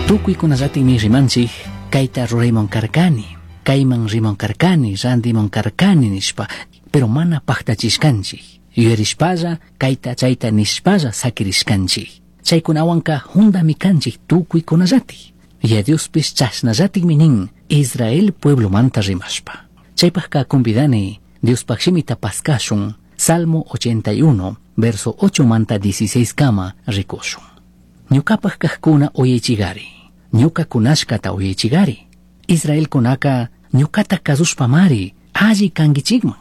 Tucuicunallatikmi rimanchik kayta rurayman karkani, kayman riman karkani, rantiman karkani nishpa, pero mana paktachishkanchik. Yuyarishpalla kayta chayta nishpalla sakirishkanchik. Chaykunawanka jundami kanchik tukuykunallatik. Yaya Diospish chashnallatikmi nin Israel pueblomanta rimashpa. Chaypajka convidani Diospaj shimita paskashun Salmo 81, verso 8 manta 16 kama rikushun. Ñucapaj kajkuna uyaychigari, ñuca kunashkata uyaychigari. Israelkunaka ñucata kazushpamari alli kanguichikman.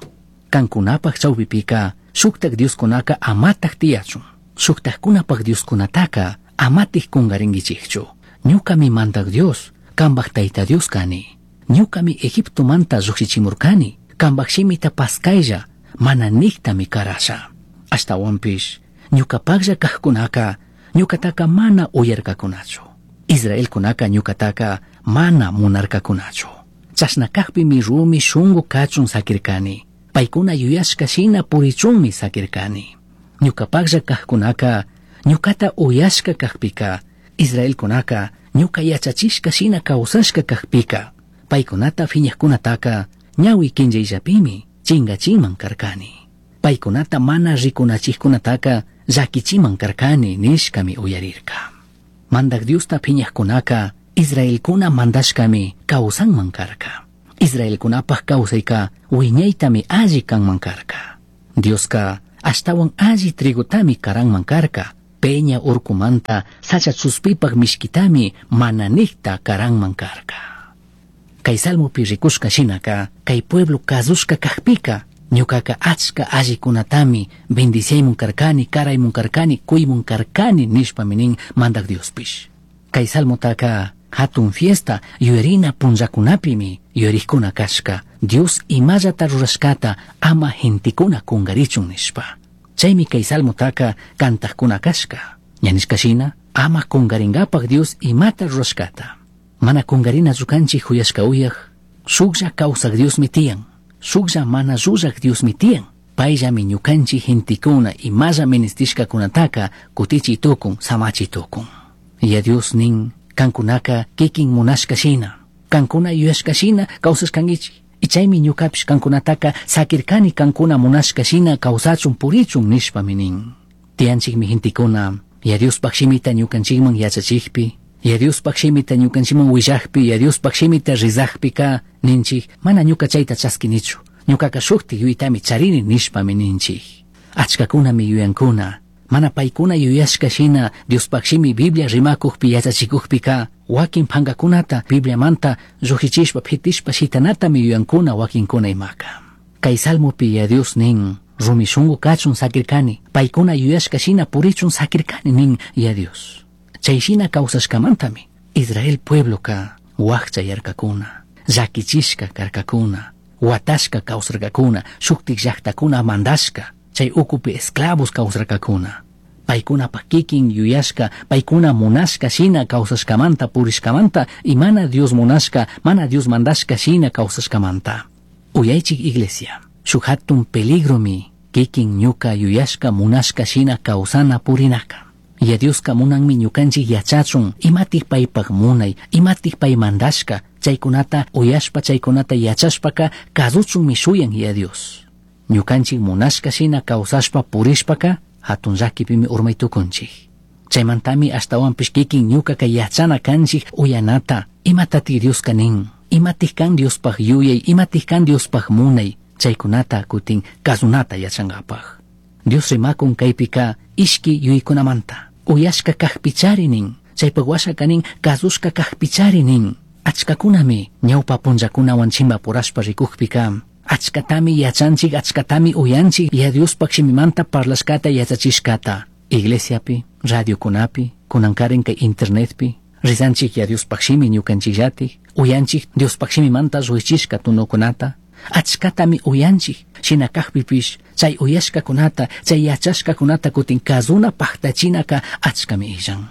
Kankunapaj chawpipika shuktak dioskunaka amataj tiyachun. Shuktajkunapaj dioskunataka amatik kungaringuichikchu. Ñucami Mandaj Dios, kambaj Tayta Dios kani. Ñucami Egiptomanta llukshichimurkani, kambaj shimita paskaylla, mana niktami karasha. Ashtawanpish, ñucapajlla kajkunaka, ñucataka mana uyarkakunachu. Israelkunaka ñucataka mana munarkakunachu. Chashna kajpimi rumi shungu kachun sakirkani. Paykuna yuyashka shina purichunmi sakirkani. Ñucapajlla kajkunaka, ñucata uyashka kajpika, Israelkunaka ñuca yachachishka shina kawsashka kajpika, paykunata phiñajkunataka ñawi kinchayllapimi chingachinman karkani. Paykunata mana rikunachijkunataka llakichiman karkani nishkami uyarirka. Mandaj Diosta phiñajkunaka Israelkuna mandashkami kawsanman karka. Israelkunapaj kawsayka wiñaytami alli kanman karka. Dioska ashtawan alli trigotami karanman karka. Peña urkumanta sacha chuspipaj mishkitami mana nikta karanman karka. Kay salmopi rikushka shinaka, kay pueblo kazushka kajpika, ñukaka achka allikunatami bendiciaymun karkani, karaymun karkani, kuymun karkani nishpami nin Mandaj Diospish. Kay salmotaka hatun fiesta yuyarina punllakunapimi yuyarikkuna kashka, Dios imallata rurashkata ama gentekuna kungarichun nishpa. Chaymi kay salmotaka kantajkuna kashka. Ña nishka shina, ama kungaringapaj Dios imata rurashkata. Mana kungarinachu kanchik juyashka uyaj, shuklla kawsaj Diosmi tiyan, shuklla mana llullaj Diosmi tiyan. Payllami ñukanchik gentekuna imalla ministishkakunataka kutichi tukun, samachi tukun. Yaya Dios nin, kankunaka kikin munashka shina, kankuna yuyashka shina kawsashkankichik. Y chaymi ñukapish kankunataka sakirkani kankuna munashka shina kawsachun purichun nishpami nin. Tiyanchikmi gentekuna, Yaya Diospaj shimita ñukanchikman yachachikpi, Yaya Diospaj shimita ñukanchikman willajpi, Yaya Diospaj shimita rizajpika ninchik, mana ñuka chayta chaskinichu, ñukaka shuktik yuyaytami charini nishpami ninchik. Achkakunami yuyankuna, mana paykuna yuyashka shina Diospaj shimi Biblia rimakujpi yachachikujpika, wakin pankakunata Bibliamanta llujichishpa pitishpa shitanatami yuyankuna wakinkuna imaka. Kay salmopi Yaya Dios nin, rumi shungu kachun sakirkani, paykuna yuyashka shina purichun sakirkani nin Yaya Dios. Chay shina kawsashkamantami Israel puebloka wakchayarkakuna, llakichishka karkakuna, watashka kawsarkakuna, shuktik llaktakuna mandashka, chay ukupi esclavos kawsarkakuna. Paykunapaj kikin yuyashka, paykuna munashka shina kawsashkamanta purishkamanta y mana Dios munashka, mana Dios mandashka shina kawsashkamanta. Uyaychik iglesia, shuk hatun peligromi kikin ñuka yuyashka munashka shina kawsana purinaka. Yaya Dioska munanmi ñukanchik yachachun imatik paypaj munay, imatik pay mandashka, chaykunata uyashpa chaykunata yachashpaka kasuchunmi shuyan Yaya Dios. Ñukanchik munashka shina kawsashpa purishpaka hatun llakipimi urmay tukunchik. Chaymantami ashtawanpish kikin ñukaka yachana kanchik uyanata, imatatik Dioska nin, imatik kan Diospaj yuyay, imatik kan Diospaj munay, chaykunata kutin kasunata yachankapaj. Dios rimakun kaypika ishki yuyaykunamanta, uyashka kajpichari nin, chaypaj washaka nin kasushka kajpichari nin. Achkakunami ñawpa punllakunawan chimbapurashpa rikujpika, achkatami yachanchik, achkatami uyanchik Yaya Diospaj shimimanta parlashkata yachachishkata. Iglesiapi, radiokunapi, kunankarin kay internetpi, rizanchik Yaya Diospaj shimi ñukanchikllatik, uyanchik Diospaj shimimanta lluichishka tunukunata, achkatami uyanchik, shina kajpipish chay uyashkakunata, chay yachashkakunata kutin kazuna paktachinaka achkami illan.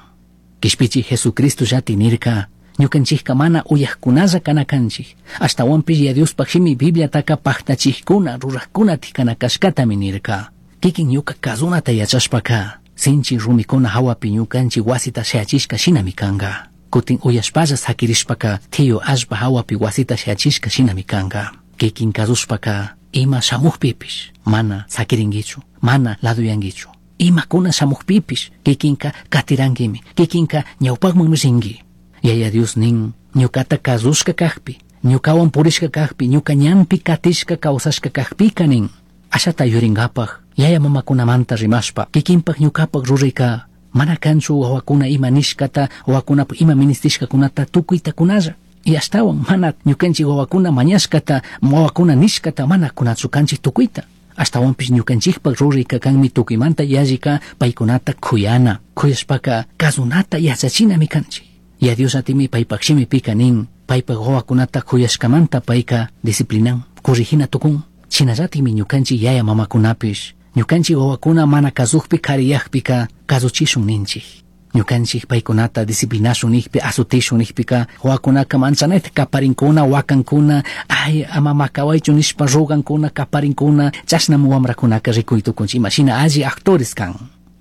Kishpichi Jesucristo llati nirka, ñukanchikka mana uyajkunalla kana kanchik, ashtawanpish Yaya Diospaj shimi Bibliataka paktachijkuna, rurajkunatik kana kashkatami nirka. Kikin ñuka kazunata yachashpaka, sinchi rumikuna hawapi ñukanchik wasita shayachishka shinami kanka. Kutin uyashpalla sakirishpaka tiyu allpa hawapi wasita shayachishka shinami kanka. Kikin kazushpaka ima shamukpipish mana sakirinkichu, mana laduyankichu. Imakuna shamukpipish kikinka katirankimi, kikinka ñawpakmanmi rinki. Yaya Dios nin, ñukata kazushka kakpi, ñukawan purishka kakpi, ñuka ñanpi katishka kawsashka kakpika nin. Ashata yurinkapak, yaya mamakunamanta rimashpa, kikinpak ñukapak rurayka mana kanchu wawakuna ima nishkata, wawakunapak ima ministishkakunata tukuyta kunalla. Y ashtawan mana ñukanchik wawakuna mañashkata, wawakuna nishkata mana kunachu kanchik tukuyta. Ashtawanpish ñukanchikpak rurayka kanmi tukuymanta yallika paykunata kuyana, kuyashpaka kazunata yachachinami kanchik. Ya Dios atimi paypak shimipika nin, paypak wawakunata kuyashkamanta payka disciplinan, corrigina tukun. Shinallatimi ñukanchik yaya mamakunapish, ñukanchik wawakuna mana kazukpi kariyakpika kazuchishun ninchik. Ñukanchik paykunata disciplinashun nikpi, azutishun nikpika, wawakunaka manchanayta kaparinkuna, wakankuna, ay ama makawaychu nishpa rogankuna, kaparinkuna, chashnami wamrakunaka rikuy tukunchik, imashina alli actores kan.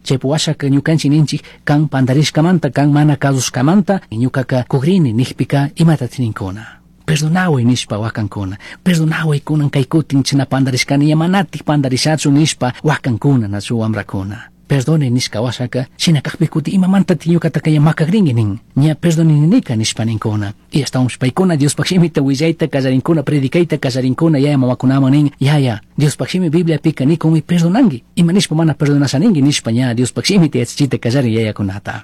Chaypi washaka ñukanchik ninchik, kan pandarishkamanta, kan mana kazushkamanta, ñukaka kugrini nikpika imatatik ninkuna. Perdonaway nishpa wakankuna, perdonaway kunan kay kutin china pandarishkani, ña manatik pandarishachu nishpa wakankuna nachu wamrakuna. Perdone nishka washaka, shina kakpi kuti imamantatik ñukataka ña makakrinki nin, ña perdonininika nishpa ninkuna. Y ashtawanpish paykuna Diospak shimita willayta kallarinkuna, predicayta kallarinkuna, yaya mamakunaman nin, yaya, Diospak shimi Bibliapika nikunmi perdonanki, ima nishpa mana perdonasha ninki nishpa ña Diospak shimita yachachita kallarin yayakunata.